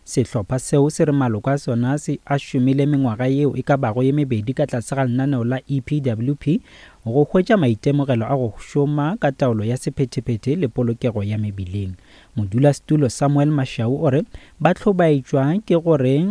Sehlopha seo se re maloko a sona se a šomile mengwaga yeo e ka bago ye mebedi ka tlase ga lenaneo la EPWP go hwetša maitemogelo a go šoma ka taolo ya sephethephethe le polokego ya mebileng. Modulasetulo Samuel Mashau o re ba hlobaetšwa ke gore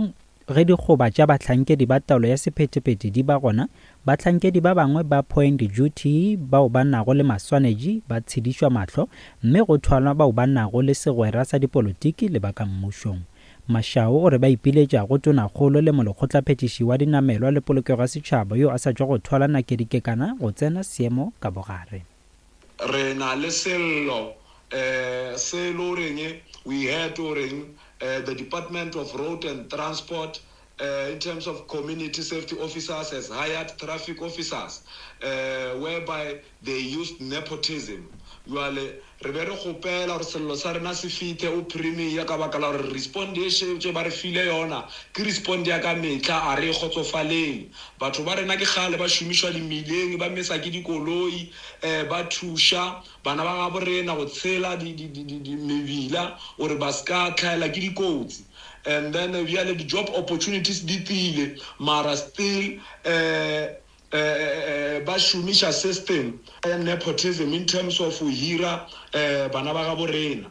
ge dikgoba tša bahlankedi ba taolo ya sephethephethe di ba gona, bahlankedi ba bangwe ba point duty bao ba nago le maswanedi ba tshedišwa mahlo mme go thwalwa bao ba nago le segwera sa dipolotiki le ba ka mmušong. Mashau o re ba ipiletša go Tonakgolo le Molekgotlaphethiši wa Dinamelwa le Polokego ya Setšhaba yo a sa tšwa go thwala Nakedi Kekana go tsena seemo ka bogare. Re na le sello se e le goreng we heard goreng the Department of Road and Transport in terms of community safety officers has hired traffic officers whereby they used nepotism. Jwale re be re kgopela gore sello sa rena se fithe o Premier ka baka la gore respond e šetše ba re file yona ke respond ya ka mehla, a re e kgotsofaleng. Batho ba rena ke kgale ba šomišwa dimileng, ba mesa ke dikoloi, ba thuša bana ba gabo rena go tshela mebila gore ba se ka hlaelwa ke dikotsi. And then bjale di-job opportunities di tlile mara still ba šomiša system ya nepotism in terms of go hira bana ba gabo rena.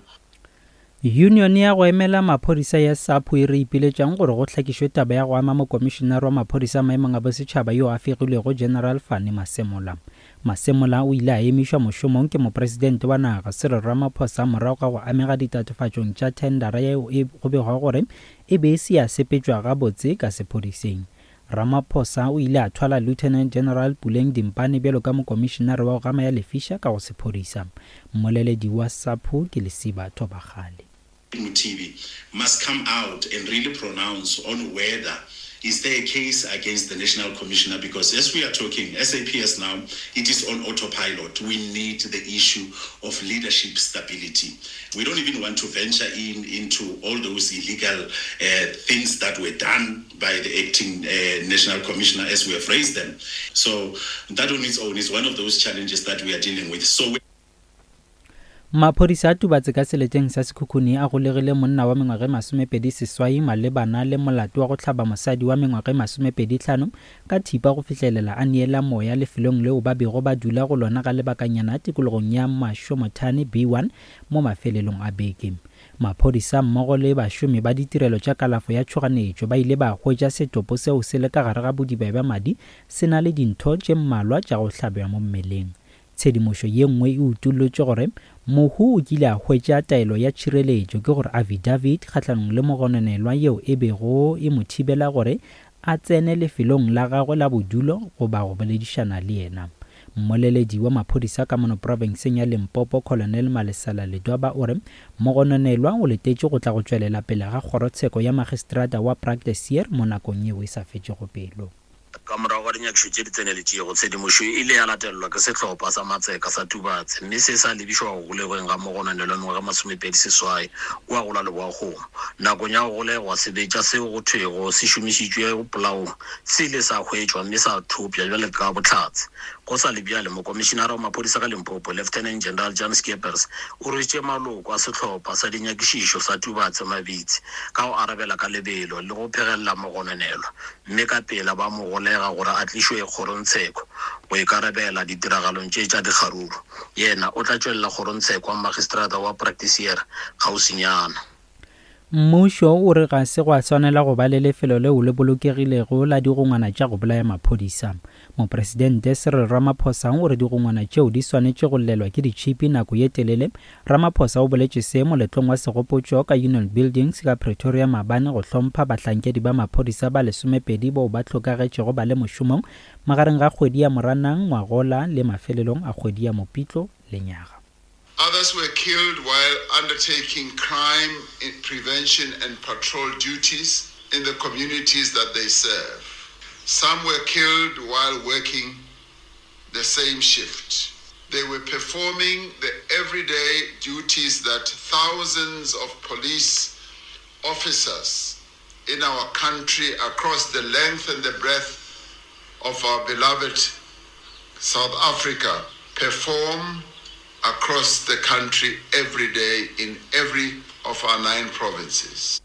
Yunione ya go emela maphodisa ya SAPO e re ipiletšang gore go hlakišwe taba ya go ama mokomišenare wa maphodisa maemong a bosetšhaba yo a fegilwego General Fannie Masemola. Masemola o ile a emišwa mošomong ke mopresidente wa naga Cyril Ramaphosa morago ga go amega ditatofatšong tša thendara yeo e go begwago gore e be e se ya sepetšwa gabotse ka sephodiseng. Ramaphosa o ile a thwala Lieutenant General Puleng Dimpane bjalo ka mokomišenare wa go gama ya lefiša ka go sephodisa. Mmoleledi wa SAPO ke Lesiba Thobakgale. Mothibi must come out and really pronounce on whether is there a case against the National Commissioner because as we are talking, SAPS now, it is on autopilot. We need the issue of leadership stability. We don't even want to venture in into all those illegal uh, things that were done by the acting uh, National Commissioner as we have raised them. So that on its own is one of those challenges that we are dealing with. So we Maphodisa a Tubatse ka seleteng sa Sekhukhune a golegile monna wa mengwaga e 28 malebana le molato wa go hlaba mosadi wa mengwaga e 25 ka thipa go fihlelela a neela moya lefelong leo ba bego ba dula go lona ga lebakanyana tikologong ya Mashomothane B1 mo mafelelong a beke. Maphodisa mmogo le bašomi ba ditirelo tša kalafo ya tšhoganetšo ba ile ba hwetša setopo seo se le ka gare ga bodiba bja madi se na le dintho tše mmalwa tša go hlabja mo mmeleng. Tshedimošo ye nngwe e utollotše gore mohu o kile a hwetša taelo ya tšhireletšo, ke gore affidavit, kgahlanong le mogononelwa yeo e bego e mo thibela gore a tsene lefelong la gagwe la bodulo goba go boledišana le yena. Mmoleledi wa maphodisa ka mono profenseng ya Limpopo, Colonel Malesela Ledwaba o re mogononelwa o letetše go tla go tšwelela pele ga kgorotsheko ya magistrata wa Praktiseer mo nakong yeo e sa fetšego pelo. Ka morago ga dinyakišo tše di tseneletšego, tshedimošo e ile ya latelelwa ke sehlopha sa matseka sa Tubatse mme se sa lebišwa go golegweng ga mogononelwa mengwaga e 28 kua go la Leboakgomo. Nakong ya go golegwa, sebetša seo go thwego se šomišitšwe polaong se ile sa hwetšwa mme sa thopša bjale ka bohlatse. Go sa le bjale, Mokomišinara wa Maphodisa ka Limpopo, Lieutenant General Jan Scheepers, o rwešitše maloko a sehlopha sa dinyakišišo sa Tubatse mabitsi ka go arabela ka lebelo le go phegelela mogononelwa mme ka pela ba mo golega gore a tlišwe kgorongtsheko go ikarabela ditiragalong tše tša dikgaruru. Yena o tla tšwelela kgorongtsheko wa magistrata wa Praktiseer kgauswinyana. Mmušo o re ga se gwa swanela go ba le lefelo leo le bolokegilego la digongwana tša go bolaya maphodisa. Mopresidente Cyril Ramaphosa o re digongwana tšeo di swanetše go llelwa ke ditšhipi nako ye telele. Ramaphosa o boletše se moletlong wa segopotšo ka Union Buildings ka Pretoria maabane go hlompha bahlankedi ba maphodisa ba lesomepedi bao ba hlokagetšego ba le mošomong magareng ga kgwedi ya Moranang ngwagola le mafelelong a kgwedi ya Mopitlo lenyaga. Others were killed while undertaking crime prevention and patrol duties in the communities that they serve. Some were killed while working the same shift. They were performing the everyday duties that thousands of police officers in our country across the length and the breadth of our beloved South Africa perform across the country every day in every of our nine provinces.